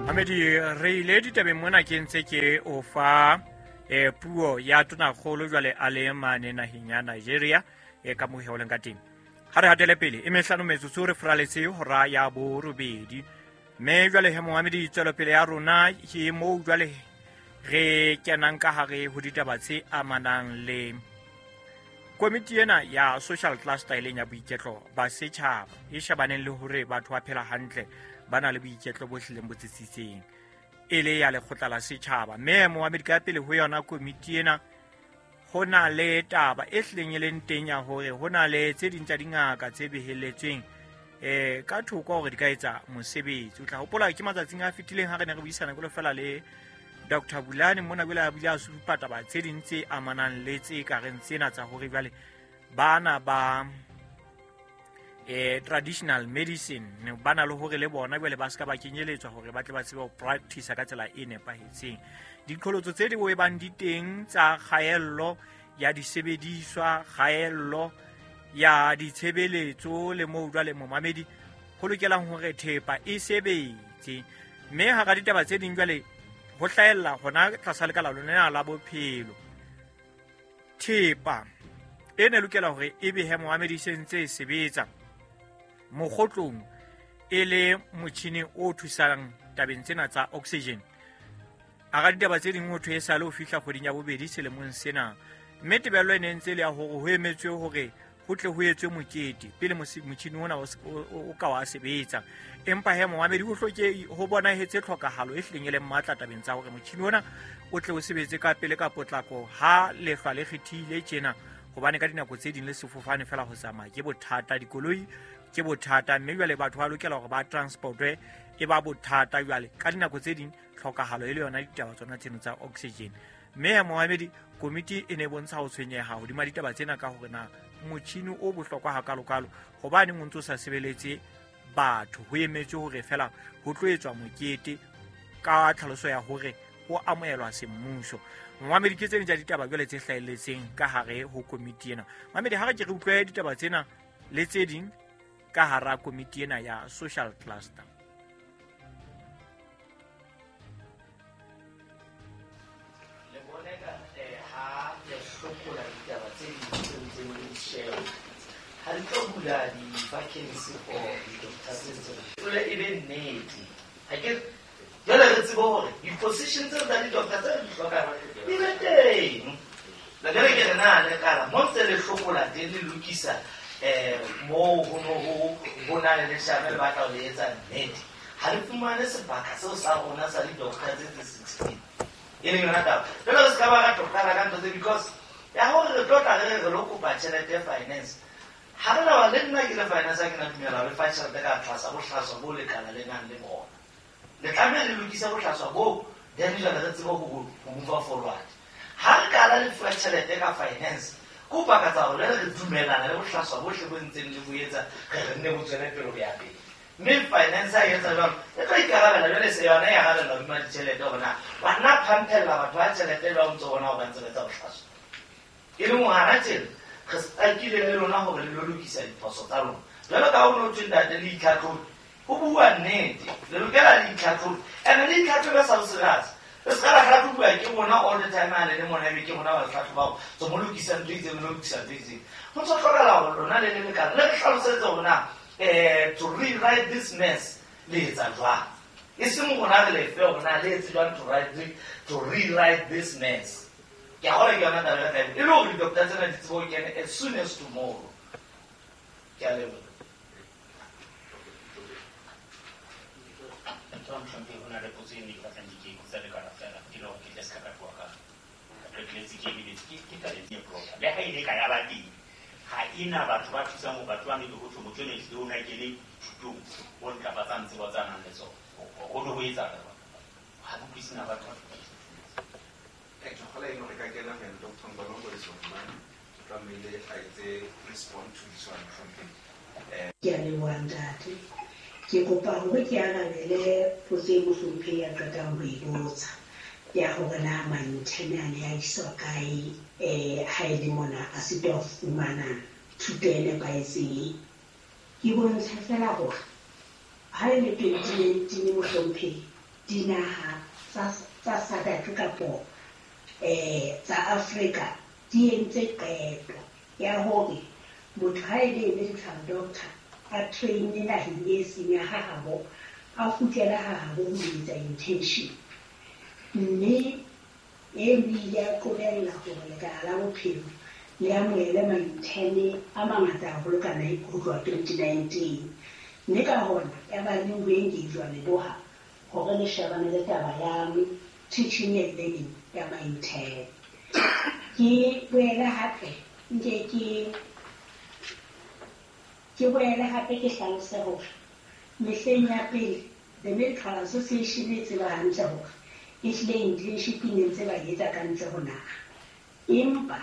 Mamedi, re ile ditabeng mona ke ntse ke o fa puo ya tonakgolo jwale a le mane naheng ya Nigeria ka moo he leng ka teng. Ha re hatele pele e mehlano metsotso re furaletse hora ya borobedi, mme jwale he momamedi tswelopele ya rona ke moo jwale re kenang ka hare ho ditaba tse amanang le komiti ena ya social cluster e leng ya boiketlo ba setjhaba e shebaneng le hore batho ba phela hantle, ba na le boiketlo bo hlileng bo tsitsitseng, e le ya lekgotla la setjhaba. Mme momamedi, ka pele ho yona komiti ena ho na le taba e hlileng e leng teng ya hore ho na le tse ding tsa dingaka tse behelletsweng ka thoko hore di ka etsa mosebetsi. O tla hopola ke matsatsing a fetileng ha re ne re buisana jwalo fela le Dr. Bulane mona, jwale a bile a supa taba tse ding tse amanang le tse ka reng tsena tsa hore jwale bana ba traditional medicine ba na le hore le bona jwale ba se ka ba kenyeletswa hore ba tle ba tsebe ho practice ka tsela e nepahetseng. Diqholotso tse di bang di teng tsa kgaello ya disebediswa, kgaello ya ditshebeletso, le moo jwale momamedi ho lokelang hore thepa e sebetse. Mme hara ditaba tse ding jwale ho hlahella hona tlasa lekala lona la bophelo, thepa e ne lokela hore e behe momamedi se ntse e sebetsa mokgotlong e le motjhini o thusang tabeng tsena tsa oxygen. Hara ditaba tse ding ho thwe e sale ho fihla kgweding ya bobedi selemong sena, mme tebello e ne ntse le ya hore ho emetswe hore ho tle ho etswe mokete pele motjhini ona o ka wa sebetsa. Empa he momamedi ho hloke ho bonahetse tlhokahalo e hlileng e leng matla tabeng tsa hore motjhini ona o tle o sebetse ka pele ka potlako ha lehlwa le kgethile tjena, hobane ka dinako tse ding le sefofane fela ho tsamaya ke bothata, dikoloi ke bothata, mme jwale batho ba lokela hore ba transportwe e ba bothata. Jwale ka dinako tse ding tlhokahalo e le yona ditaba tsona tseno tsa oxygen. Mme ya momamedi, komiti e ne e bontsha ho tshwenyeha hodima ditaba tsena ka hore na motjhini o bohlokwa hakalokalo hobaneng o ntso sa sebeletse batho, ho emetswe hore fela ho tlo etswa mokete ka tlhaloso ya hore ho amohelwa semmuso. Momamedi, ke tse ding tsa ditaba jwale tse hlahelletseng ka hare ho komiti ena. Mamedi, ha re ke re utlwe ditaba tsena le tse ding ka hara komiti ena ya social cluster. Le bone ka ha le hlokola ditaba tse ding tse ntseng le di sheba, ha di tlo bula di-vacancy for di-doctor tse ntseng jwale e be nnete. Ha ke jwale re tsebe hore di-position tseo tsa di-doctor tse re di hlokang di be teng. La jwale ke re na le kala mo ntse le hlokola teng le lokisa moo ho no ho na le leshano le batla ho le etsa nnete, ha re fumane sebaka seo sa rona sa di-doctor tse tse 16 e leng yona taba. Jwale re se ka ba ra tlo qala ka ntho tse, because ya hore re tlo tla re re re lo kopa tjhelete finance, ha re na le nna ke le finance ha ke na dumela ho le fa tjhelete ka tlasa bohlaswa bo lekala le nang le bona. Le tlameha le lokise bohlaswa bo, then jwale re tsebe ho move forward. Ha re qala le fuwa tjhelete ka finance, ke ho pakatsa hore jwale re dumellana le bohlaswa bohle bo ntseng le bo etsa, re re nne bo tswele pele ho ya pele. Mme finance ha e etsa jwalo, e tlo ikarabela jwale, se yona e arabella hodima ditjhelete hore na wa nna phampella batho ba tjhelete jwang o ntso bona hore ba ntse ba etsa bohlaswa. E leng hore hana tjena re stakile le lona hore le lo lokisa diphoso tsa lona. Jwalo ka ha ho no thwe ntate le itlhatlhobe, ho bua nnete, le lokela le itlhatlhobe. Ene le itlhatlhobe sa ho serious. Le se ka la hlahlobuwa ke rona all the time ha le le mona, ebe ke rona ba le hlahlobang. So mo lokisa ntho e itseng, le lokisa ntho e itseng. Ho ntso hlokahala hore lona le le lekala le re hlalosetse hore na to rewrite this mess le etsa jwang. E seng rona re lefe hore na le etse jwang to rewrite this mess. Ke a kgolwa ke yona taba e re tla e le hore di-doctor tsena di tsebe ho kena as soon as tomorrow. Ke a leboha. Ntho mohlomphehi, ho na le potso e nne ke batlang ke botsa lekala fela, ke le hore ke tle se ka ka tloha ka qetelletse ke lebetse. Ke tabeng e proper. Le ha ile ka ya ba teng, ha ena batho ba thusang hore batho ba ne ho thwe motho enwa ehlile o na kene thutong o ntlafatsang tsebo tsa nang le tsona. Ho ne ho etsahala jwang? Ha ke utlwisise na batho ba Ke kgolwa eno re ka kena ho yena. Dr. Mbolongo is online. Tlamehile a etse respond to this one, mohlomphehi. Ke a leboha ntate. Ke kopa hore ke arabele potso e mohlomphehi a qetang ho e botsa ya hore na ma-intern a ne a iswa kae ha e le mona a sitwa ho fumana thuto e nepahetseng. Ke bontshe fela hore ha e le 2019 mohlomphehi, dinaha tsa SADC kapo tsa Africa di entse qeto ya hore motho ha e le medical doctor a train naheng e seng ya hahabo, a kgutlele hahabo ho etsa internship. Mme e ile ya qobella hore lekala la bophelo le amohele ma-intern a mangata haholo ka ho tloha 2019. Mme ka hona ya ba le ho engage-wa leboha hore le shebane le taba ya teaching and learning ya ma-intern. Ke boele hape nke ke boele hape ke hlalose hore mehleng ya pele the Medical Association e tseba hantle hore ehlile internship e ne ntse ba etsa ka ntle ho naha, empa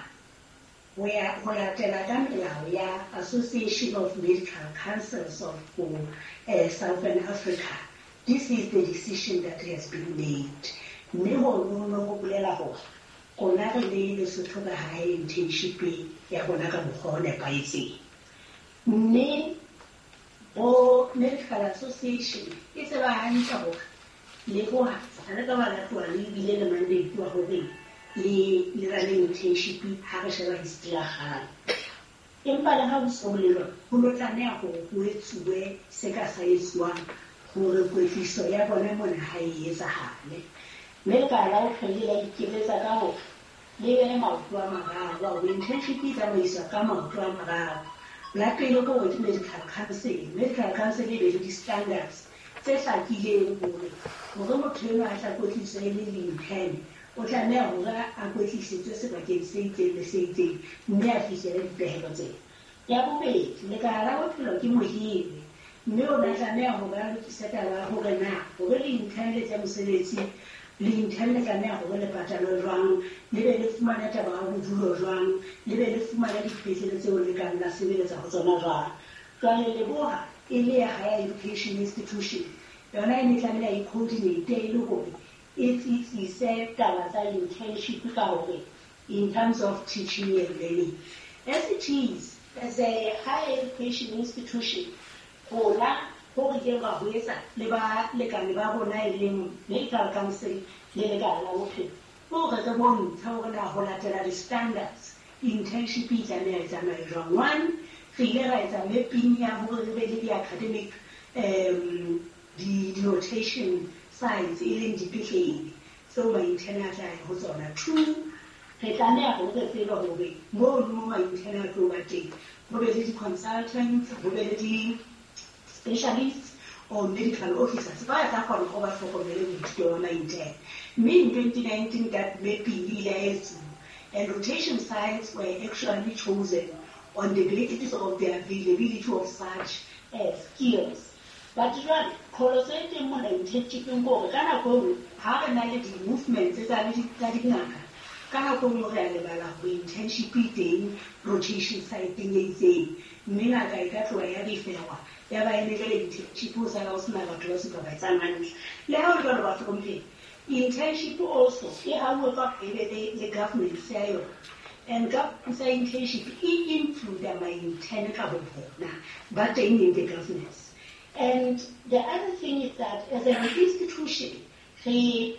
ho ya ho latela ka melao ya Association of Medical Councils of Southern Africa, this is the decision that has been made. Mme hono ho bolela hore rona re le Lesotho ka hae internship ya rona ka mokgwa o nepahetseng. Mme bo Medical Association e tseba hantle hore leboha ha re ka ba latola le ebile le mandate wa hore le rane internship ha re sheba history ya kgale. Empa le ha ho so le jwalo, ho lo tlameha hore ho etsuwe se ka sa etsuwang hore kwetliso ya bona mona ha e etsahale. Mme lekala la bophelo la ikeletsa ka hore le behe maoto a mararo, hore internship e tsamaiswa ka maoto a mararo. La pele ke hore ke medical council. Medical council e be le di-standards tse hlakileng hore motho enwa a tla kwetliswa e le intern, o tlameha hore a kwetlisetswe sebakeng se itseng le se itseng mme a fihlele dipehelo tsena. Ya bobedi, lekala la bophelo ke mohiri, mme o na tlameha hore a lokise taba ya hore na hore le intern le tsa mosebetsi, le intern le tlameha hore le patalwe jwang, le be le fumane taba ya bodulo jwang, le be le fumane dipetlele tseo le kang la sebeletsa ho tsona jwang. Jwale leboha e le ya higher education institution, yona e ne tlameha e coordinate e le hore e tsitsise taba tsa internship ka hore in terms of teaching and learning. As it is, as a higher education institution, rona ho re ileng ra ho etsa le balekane ba rona e leng Medical Council le lekala la bophelo, hore re bontshe hore na ho latela di-standards internship e tlameha e tsamaye jwang. One, re ile ra etsa mapping ya hore re be le di-academic di-rotation sites e leng dipetlele tseo ma-intern a tla ya ho tsona. Two, re tlameha hore re tsebe hore mono mo ma-intern a tlo ba teng ho be le di-consultants, ho be le di-specialists or medical officers ba tla kgona hore ba hlokomele boithuto ba ma-intern. Mme in 2019 that mapping e ile ya etsuwa and rotation sites were actually chosen on the basis of the availability of such skills. But jwale qholotso e teng mona internship-eng ke hore ka nako e nngwe ha re na le di-movements tsa dingaka, ka nako e nngwe re a lebala hore internship e teng rotation site-eng e itseng, mme ngaka e ka tloha ya referwa ya ba e ne jwale internship ho sala ho sena batho ba supervisang hantle. Le ha ho le jwalo bahlomphehi, internship also e hauwe ka e be le governance ya yona. And governance ya internship e include ma-intern ka bo bona ba teng in the governance. And the other thing is that as an institution, re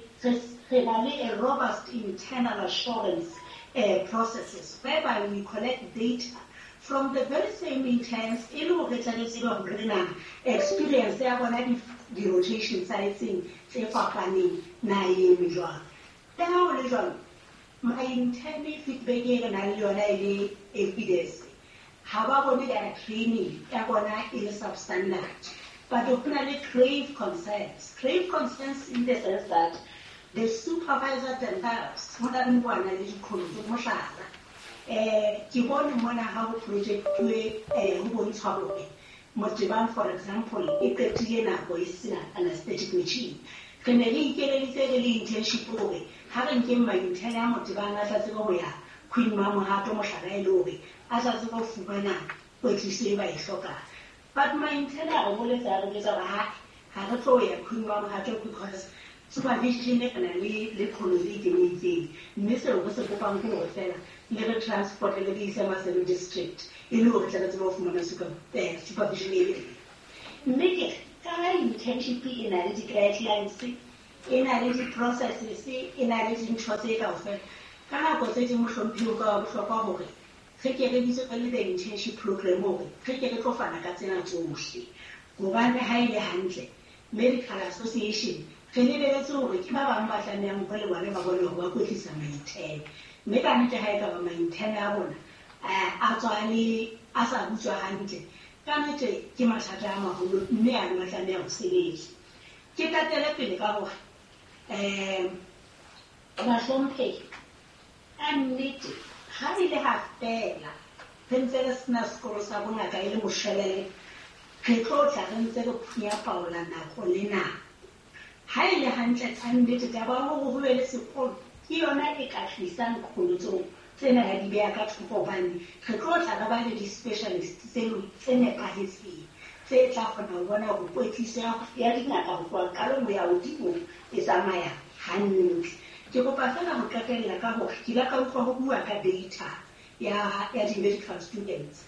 na le a robust internal assurance processes whereby we collect data from the very same interns e le hore tla re tsebe hore na experience ya bona di-rotation sites-eng tse fapaneng na e eme jwang. Le ha ho le jwalo, ma-intern feedback e re nang le yona e le evidence, ha ba bone their training ya bona e le substandard. But ho na le grave concerns. Grave concerns in the sense that the supervisor themselves, ho na le bona le diqholotso mohlala. Ke bone mona ha ho project-uwe, ho bontshwa hore Motebang, for example, e qetile nako e sena anesthetic machine. Re ne re ikeleditse re le internship hore ha re nkeng ma-intern a Motebang a tla tsebe ho ya Queen Mamohato mohlala e le hore a tla tsebe ho fumana kwetliso e ba e hlokang. But ma-intern a re boletse a re jwetsa hore ha re tlo ya Queen Mamohato because supervision e na le qholotso e teng e itseng. Mme seo re se kopang ke hore fela le re transport le re ise Maseru district e le hore tle re tsebe ho fumana supervision e le. Mme ke ka ha internship e na le di-guidelines E na le di-processes, e na le dintho tse kaofela. Ka nako tse ding mohlomphehi o ka wa bohlokwa hore re ke re bitse re le the internship program hore re ke re tlo fana ka tsena tsohle. Hobane ha e le hantle, Medical Association re lebeletse hore ke ba bang ba tlamehang hore le bona ba bone hore ba kwetlisa ma-intern. Mme ka nnete ha e ka ba ma-intern a rona a tswa le a sa butswa hantle, ka nnete ke mathata a maholo mme ano a tlameha ho sebetswa. Ke tatele pele ka hore bahlomphehi, ka nnete ha e le ha fela re ntse re sena sekolo sa bongaka e le moshwelele, re tlo tla re ntse re phunya paola nako le nako. Ha e le hantle ka nnete taba ya hore ho be le sekolo ke yona e ka tlisang qholotso tsena ya di beha ka thoko, hobane re tlo tla re ba le di-specialist tse nepahetseng tse tla kgona ho bona hore kwetliso ya dingaka ho tloha qalong ho ya hodimo e tsamaya hantle. Ke kopa feela ho qetella ka hore ke ile ka utlwa ho bua ka data ya di-medical students.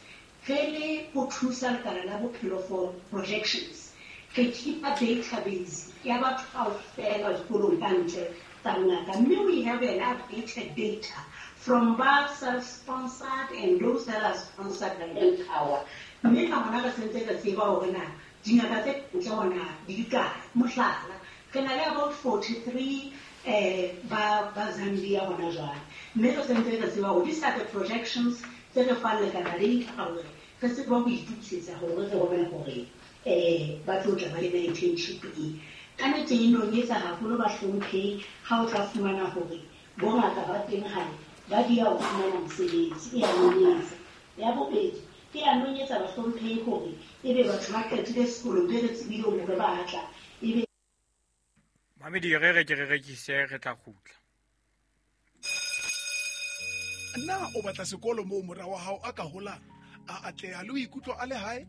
Re le ho thusa lekala la bophelo for projections, re keep-a database ya batho kaofela dikolong ka ntle tsa bongaka, mme we have an updated data from ba self-sponsored and those that are sponsored by Empower. Mme ka hona re sentse re tseba hore na dingaka tse ntle hona di kae. Mohlala, re na le about 43 ba Zambia hona jwale, mme re sentse re tseba hore these are the projections tse re fang lekala data hore re tsebe ho itokisetsa hore re bone hore ba tlo tla ba le internship e. Ka nnete e nonyetsa haholo bahlomphehi ha o tla fumana hore bongaka ba teng hae ba dia ho fumana mosebetsi, e a nonyetsa. Ya bobedi, e a nonyetsa bahlomphehi hore ebe batho ba qetile sekolong be re tsebile hore ba tla ebe Mamedi re re ke re rekise re tla kgutla. Na o batla sekolo moo mora wa hao a ka holang, a atleha le ho ikutlwa a le hae?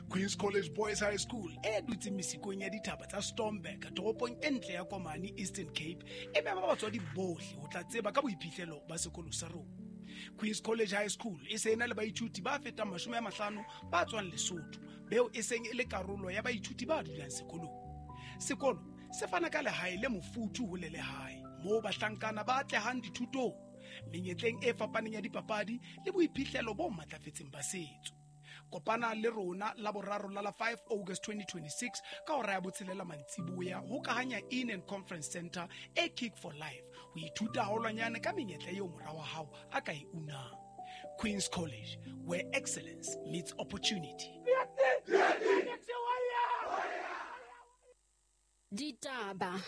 Queen's College Boys High School e dutseng mesikong ya dithaba tsa Stormberg toropong e ntle ya Komani, Eastern Cape, e mema batswadi bohle ho tla tseba ka boiphihlelo ba sekolo sa rona. Queen's College High School e se ena le baithuti ba fetang 50 ba tswang Lesotho, beo e seng e le karolo ya baithuti ba dulang sekolong. Sekolo se fana ka lehae le mofuthu ho le lehae moo bahlankana ba atlehang dithutong, menyetleng e fapaneng ya dipapadi le boiphihlelo bo matlafetseng ba setso. Kopana le rona la boraro la la 5 August 2026 ka hora ya 6 mantsiboya ho Kahanya Inn and Conference Center e Kick for Life ho ithuta haholwanyane ka menyetla eo mora wa hao a ka e unang. Queen's College, where excellence meets opportunity. Ditaba.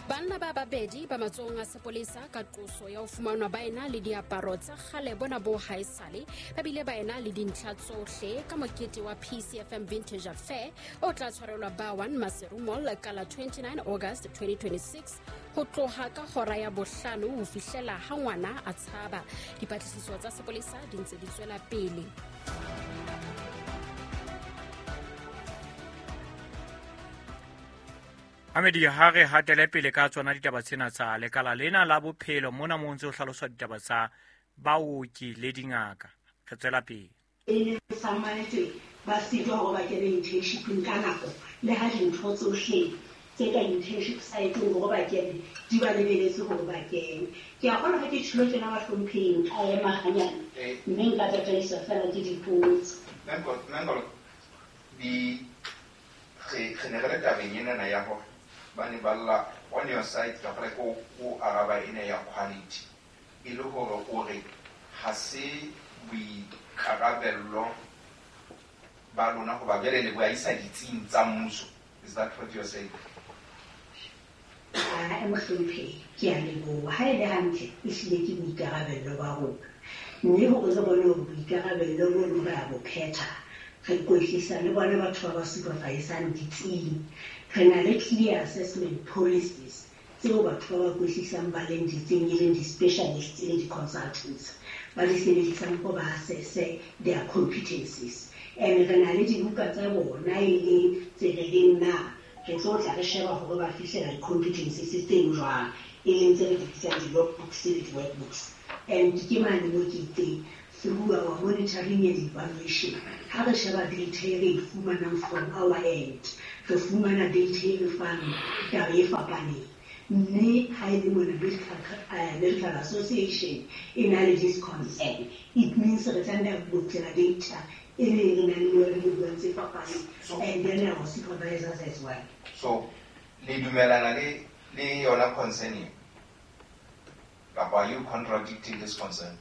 Banna ba babedi ba matsohong a sepolesa ka qoso ya ho fumanwa ba ena le diaparo tsa kgale bona bo haesale, ba bile ba ena le dintlha tsohle ka mokete wa PCFM Vintage Affair o tla tshwarelwa ba 1 Maseru Mall ka la 29 August 2026 ho tloha ka hora ya 5 ho fihlela ha ngwana a tshaba. Dipatlisiso tsa sepolesa di ntse di tswela pele. Amedi ha re hatele pele ka tsona ditaba tsena tsa lekala lena la bophelo mona mo ntse ho hlaloswa ditaba tsa baoki le dingaka. Re tswela pele. E sa manetse ba sitwa hore ba kene internshipeng ka nako, le ha dintho tsohle tse ka internship site-eng hore ba kene di ba lebeletse hore ba kene. Ke a kgolwa ha ke tjhelo tjena bahlomphehing ka ema hanyane, mme nka tataiswa fela ke dipotso. Nangolo, di re ne re le tabeng enana ya hore ba ne ba lla on your side ka gore ko araba ena ya quality e le hore o re ha se boikarabello ba lona hoba jwale le bo isa ditsing tsa mmuso. Is that what you are saying? Mohlomphehi, ke a leboha. Ha e le hantle e hlile ke boikarabello ba rona, mme hore re bone hore boikarabello bono re a bo phetha, re kwetlisa le bona batho ba ba supervisang ditsing. Re na le clear assessment policies tseo batho ba ba kwetlisang ba leng ditsing, e leng di-specialists le di-consultants, ba di sebedisang hore ba assesse their competencies. And re na le dibuka tsa bona e leng tse re reng na re tlo tla re sheba hore ba fihlela di-competencies tseo jwang, e leng tse re di bitsang di-logbooks le di-workbooks. And ke mane mo ke itseng through our monitoring and evaluation. Ha re sheba data e re e fumanang from our end, re fumana data e re fang taba e fapaneng. Mme ha e le mona Medical Association e na le this concern, it means re tlameha ho kgutlela data e leng re nang le yone mo buang tse fapaneng, and then our supervisors as well. So le dumelana le yona concern e, kapa are you contradicting this concern?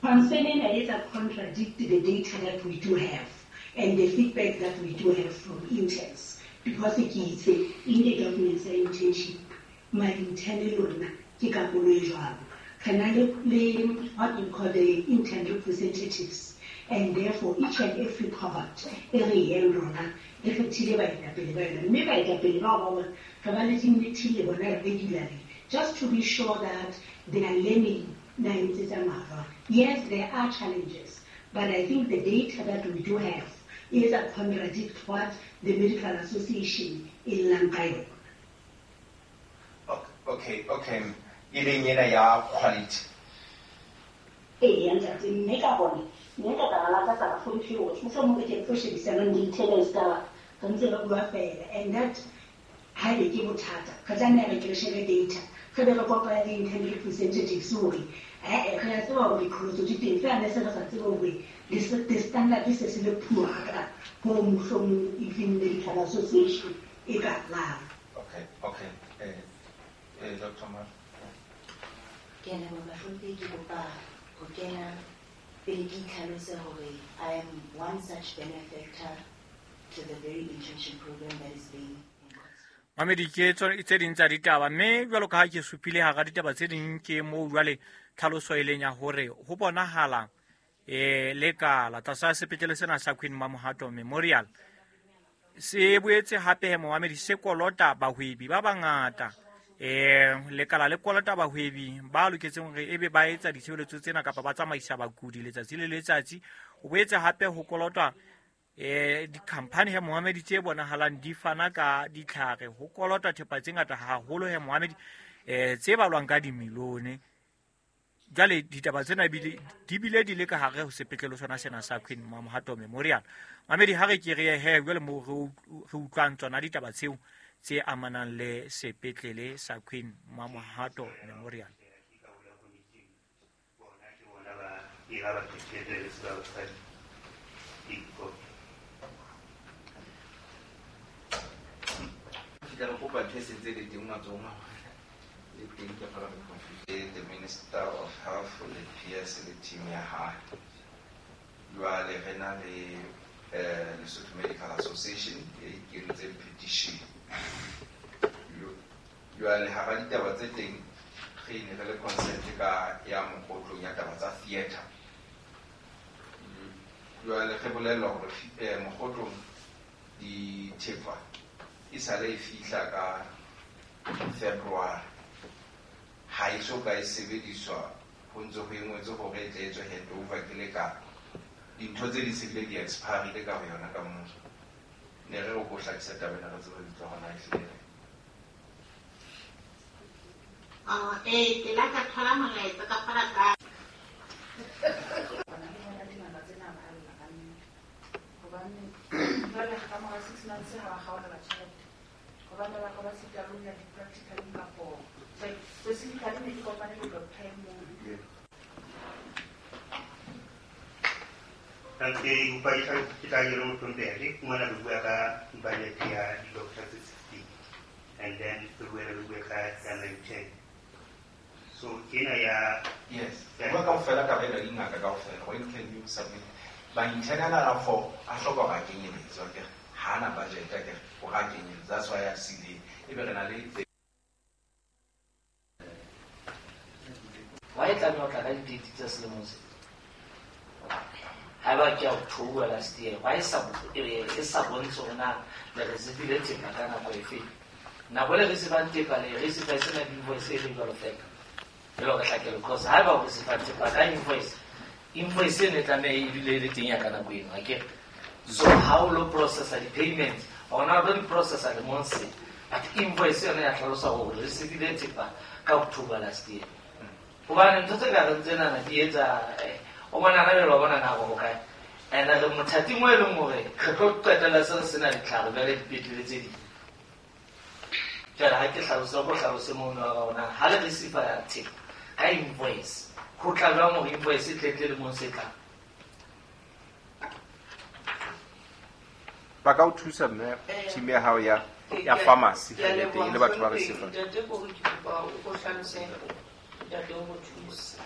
Concern ena e etsa contradict the data that we do have and the feedback that we do have from interns, because ke itse in the documents ya internship, ma-intern le lona ke karolo e jwalo. Re na le what you call the intern representatives, and therefore each and every cohort e re yang rona e kgethile baetapele ba yona, mme baetapele bao ba bona re ba le di-meeting le bona regularly just to be sure that they are learning nine tse tsamaya jwang. Yes, there are challenges, but I think the data that we do have is a contradict what the Medical Association e llang ka yona. Okay. E leng ena ya quality. Ee, ntate, mme ka hona mme ka taba la ka tsa bahlomphehli hore mohlomong re ke re tlo shebisanang di-attendance taba re ntse re bua fela, and that haebe ke bothata re tlameha re ke re shebe data, re be re kopane le intern representatives hore ee re a tseba hore diqholotso di teng, fela ne se re sa tsebe hore the standard se se le poor hakana hoo mohlomong even Medical Association e ka llang. Okay. Dr. Mar. Ke a leboha bahlomphehi, ke kopa ho kena pele ke itlhalose hore I am one such benefactor to the very internship program that is being. Mamedi, ke tse ding tsa ditaba, mme jwalo ka ha ke supile hara ditaba tse ding ke moo jwale tlhaloso e leng ya hore ho bonahala lekala tlasa sepetlele sena sa Queen Mamohato Memorial se boetse hape momamedi se kolota bahwebi ba bangata. Lekala le kolota bahwebi ba loketseng hore ebe ba etsa ditshebeletso tsena kapa ba tsamaisa bakudi letsatsi le letsatsi. O boetse hape ho kolotwa di-company he momamedi tse bonahalang di fana ka ditlhare, ho kolotwa thepa tse ngata haholo he momamedi tse balwang ka dimilione. Jwale ditaba tsena di bile di le ka hare ho sepetlele sona sena sa Queen Mamohato Memorial. Mamedi, ha re ke re he jwale moo re utlwang tsona ditaba tseo tse amanang le sepetlele sa Queen Mamohato Memorial. The Minister of Health le PS le team ya hae. Jwale re na le Lesotho Medical Association e kentseng petition. Jwale hara ditaba tse teng re ne re le consent ka ya mokgotlong ya taba tsa theatre. Jwale re bolellwa hore mokgotlong dithepa e sale e fihla ka February, ha e so ka e sebediswa, ho ntse ho engwetswe hore e tle etswe handover ke lekala. Dintho tse di se bile di expirile ka ho yona ka moo. Ne re re ko hlakisa taba ena re tsebe lebitso hore na ehlile. Ke la ka thola molaetsa ka fana ka hobane jwale ka mora 6 months ha ba kgaolela tjhelete, hobane ba ba sita ho ya di-practicaleng kapo specifically ne ke kopane le doctor e mong. Ke kopa ke tla ke re mohlomphehi, ke fumana re bua ka budget ya di-doctor tse 16 and then re boele re bue ka ya 9 10. So ena ya yes, bua kaofela taba ena dingaka kaofela. When can you submit? Ba internal a for a hloka ba kenyeletswa ke ha na budget ke o ga kenyeletswa. That's why I see the e be re na le wa e tlameha ho tla ka di-date tsa selemong se. Haeba ke October last year, why e sa bontshe hore na le receive-ile thepa ka nako efe? Nako le receive-ang thepa le receive e sena invoice e le jwalo fela. E le hore hlakele, because haeba o receive thepa ka invoice, invoice eno e tlameha e dule e le teng ya ka nako eno, akere? So ha o lo processa di-payments, ona o tlo di-processa lemong se, but invoice yona ya hlalosa hore re receive-ile thepa ka October last year. Hobane ntho tse ka reng tsenana di etsa o bona na jwale wa bona nako ho kae. And re mothating mo e leng hore re tlo qetella se re sena ditlhare jwale dipetlele tse ding. Jwale ha ke hlalose ko hlalose mono wa rona ha le receive thepa ka invoice ho tla jwang hore invoice e tle tle lemong se tlang. Ba ka o thusa mme team ya hao ya pharmacy e teng le batho ba receive. Ntate ko ke kopa o hlalose ntate o go thusa.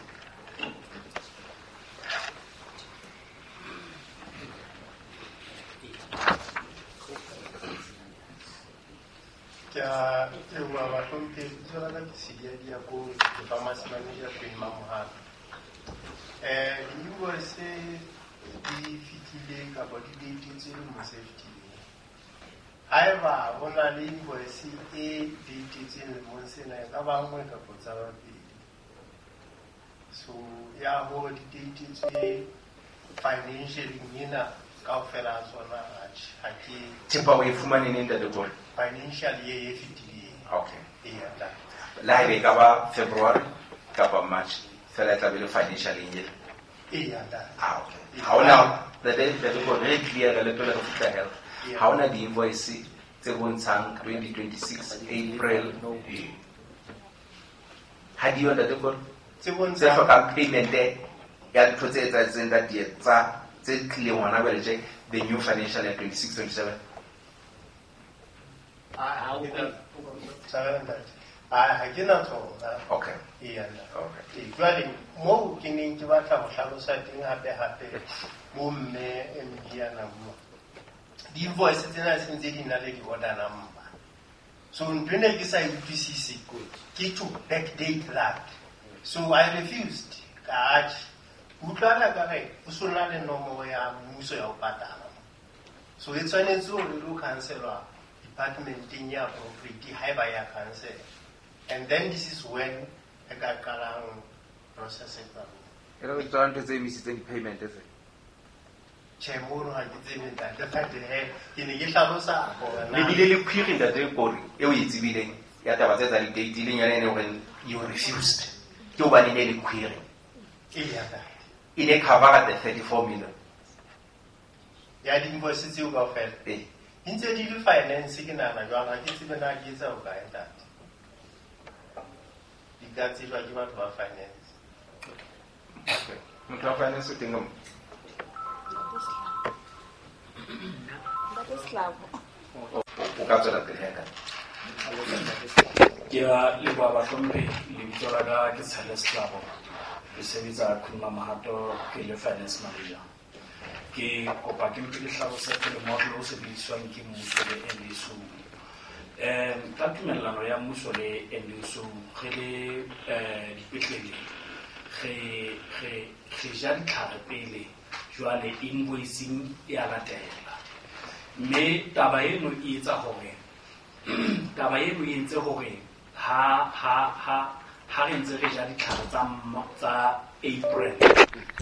Ke a leboha bahlomphehi. Lebitso la ka ke Sidia Diakone, ke pharmacy manager Queen Mamohato. Di-invoice di fihlile kapa di datetswe lemong se fetileng. Haeba ho na le invoice e datetsweng lemong sena, e ka ba nngwe kapa tsa babedi. So ya hore di datetswe financially ena kaofela ha tsona ha ke thepa o e fumane neng ntate Kore? Financial year e fetileng. Okay. Eya ntate. Le haeba e ka ba February kapa March fela e tla be le financial year. Eya ntate. Ah, okay. Ha hona ntate Kore, re clear le pele re fihla health. Ha hona di-invoice tse bontshang 2026 April. Ha di yo ntate Kore? Tse bontshang tse hlokang payment ya dintho tse etsahetseng ka tsa tse tlileng hona jwale tje the new financial year 26-27. Ha ke na tsona. Okay. Eya ntate. Okay. Jwale moo ke neng ke batla ho hlalosa teng hape hape bo mme MD a na bua. Di-invoice tsena se ntse di na le di-order number. So ntho ene ke sa e utlwisise ke to backdate that. So I refused. Ka atjhe. Utlwana ka re o so na le nomoro ya mmuso ya ho patala. So e tshwanetse hore lo cancelwa departmenteng ya appropriate haeba ya cancel. And then this is when re ka qalang process e tlang. E re tswa ntho tse emisitseng di-payment tse. Tjhe, mono ha ke tsebe ntate, but he ke ne ke hlalosa hore na Le bile le query ntate Kore eo e tsebileng ya taba tse tsa di-date leng yona e ne hore you refused. Ke hobane ne le query. Eya ntate. E ne cover the 34 million. Ya di-invoice tseo kaofela. Ee. Di ntse di le finance ke nahana jwang, ha ke tsebe na ke etsa bokae ntate. Di ka tsejwa ke batho ba finance. Okay. Motho wa finance o teng ka mo? Ntate Slabo. O ka tswela pele he ntate. Ke a leboha bahlomphehi. Lebitso la ka ke Tshele Slabo. Ke sebetsa Queen Mamohato ke le finance manager. Ke kopa ke mpe ke hlalose pele model o sebediswang ke mmuso le NDSO. Ka tumellano ya mmuso le NDSO re le dipetlele re ja ditlhare pele jwale invoicing e a latela. Mme taba eno e etsa hore taba eno e entse hore ha re ntse re ja ditlhare tsa April,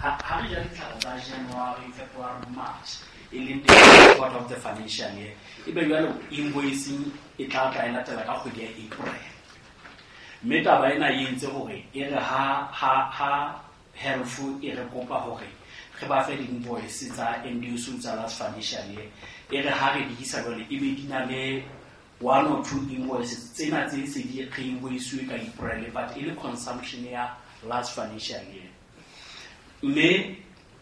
ha re ja ditlhare tsa January, February, March, e leng the quarter of the financial year, ebe jwale invoicing e tla tla e latela ka kgwedi ya April. Mme taba ena e entse hore e re ha health e re kopa hore re ba fe di-invoice tsa NDSO tsa last financial year, e re ha re di isa jwale ebe di na le one or two invoices tsena tse se di re invoice ka April, but e le consumption ya last financial year. Mme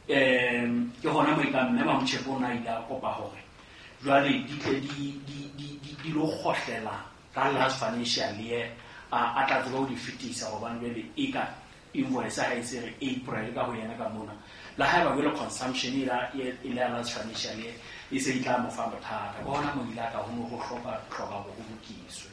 ke hona mo e ka mme Mamotjhepo o na ile a kopa hore jwale di tle di lo kgohlela ka last financial year, a tla tseba ho di fetisa hobane jwale e ka invoice ha e se re April ka ho yena ka mona. Le haeba jwale consumption e le ya last financial year e se e tla mo fa bothata. Ke hona mo ile a ka ho no ho hloka hore ho lokiswe.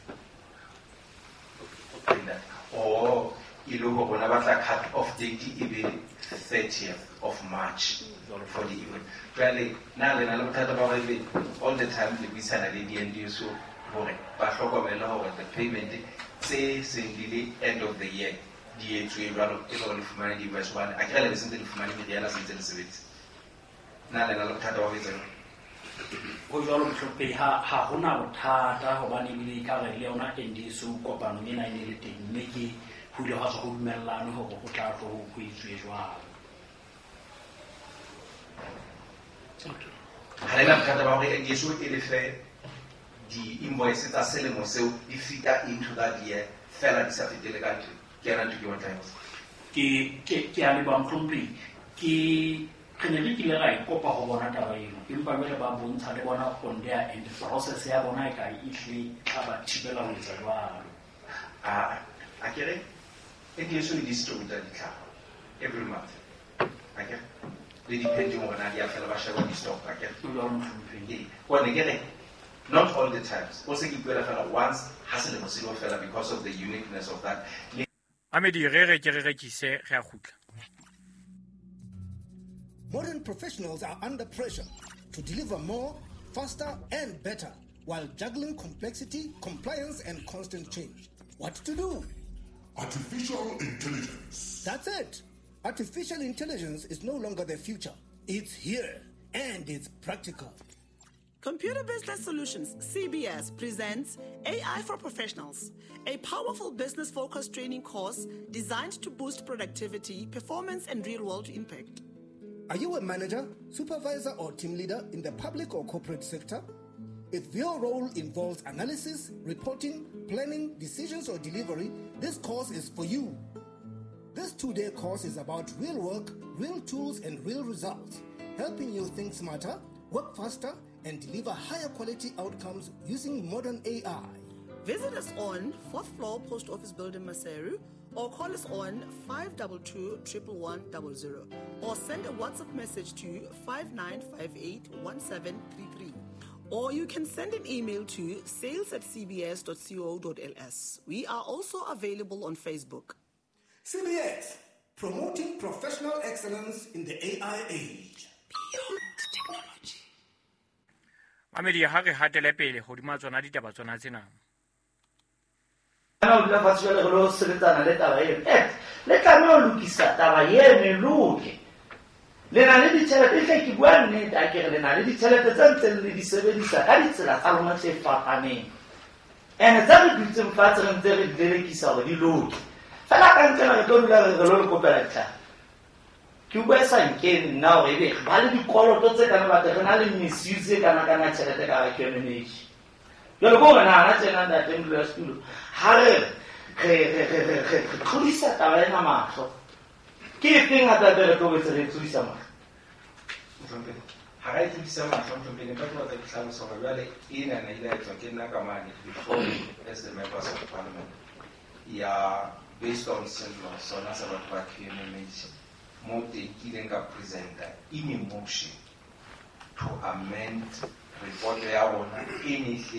Oh, e le hore bona ba tla cut off date e be 30th of March for the event. Jwale na le na le bothata ba hore all the time le buisana le di-NDSO hore ba hlokomele hore the payment tse seng di le end of the year di etswe jwalo e le hore le fumane di-invoice hobane akere le be sentse le fumane meriana sentse le sebetsa. Na le na le bothata ba ho etsa jwalo? Ho jwalo mohlomphehi, ha hona bothata hobane ebile ekare le yona NDSO kopanong ena e ne le teng, mme ke Ho ile hwa tswa ho dumellane hore ho tla tlo ho etswe jwalo. Okay. Ha le na bothata ba hore NDSO e lefe di-invoice tsa selemo seo di fita into that year fela di sa fetele ka ntho. Ke yona ntho ke batlang ho Ke a leboha mohlomphehi. Ke re ne re kile ra e kopa ho bona taba eno, empa jwale ba bontsha le bona on their end process ya bona e ka e tle e tla ba thibela ho etsa jwalo. A kere NDSO e distributa ditlhare every month. Akere le depending hore na di a fela ba sheba di-stock akere. O jwalo mohlomphehi. Ee, hobane ke re not all the times. O se ke ipuela fela once ha selemo se lo fela because of the uniqueness of that. Mamedi re re ke re rekise re a kgutla. Modern professionals are under pressure to deliver more, faster, and better while juggling complexity, compliance, and constant change. What to do? Artificial intelligence. That's it. Artificial intelligence is no longer the future. It's here, and it's practical. Computer Business Solutions, CBS, presents AI for Professionals, a powerful business-focused training course designed to boost productivity, performance, and real-world impact. Are you a manager, supervisor, or team leader in the public or corporate sector? If your role involves analysis, reporting, planning, decisions, or delivery, this course is for you. This 2-day course is about real work, real tools, and real results, helping you think smarter, work faster, and deliver higher quality outcomes using modern AI. Visit us on 4th floor Post Office Building, Maseru, or call us on 522 11100, or send a WhatsApp message to 5958 1733. Or you can send an email to sales@cbs.co.ls. We are also available on Facebook. CBS, promoting professional excellence in the AI age. Beyond technology. Mamedi ha re hatele pele hodima tsona ditaba tsona tsena. Ana o dula fatshe jwale re lo sebetsana le taba eno. Le tlameha ho lokisa taba eno e loke. Le na le ditjhelete, e hle ke bua nnete, a ke re le na le ditjhelete tse ntseng le di sebedisa ka ditsela tsa lona tse fapaneng. Ene tse re dutseng fatshe re ntse re di lelekisa hore di loke. Fela ka ntle re tlo dula re re lo le kopela ditlhare. Ke bua e sa nkene nna hore ebe ba le dikoloto tse kana batho re na le misuse e kana kana tjhelete ka hara QMMH. Jwale ko hore nahana tjena ntate modulasetulo, ha re re tlodisa taba ena mahlo. Ke efeng hape re tlo boetse re tlodisa mahlo? Mohlomphehi, ha ra e tlodisa mahlo, mohlomphehi, nka ke batla ke hlalosa hore jwale ena na ile ya etswa ke nna ka mane before as the members of parliament ya based on sello sona sa batho ba QMMH mo teng ke ileng ka presenta in a motion to amend report ya rona e ne hle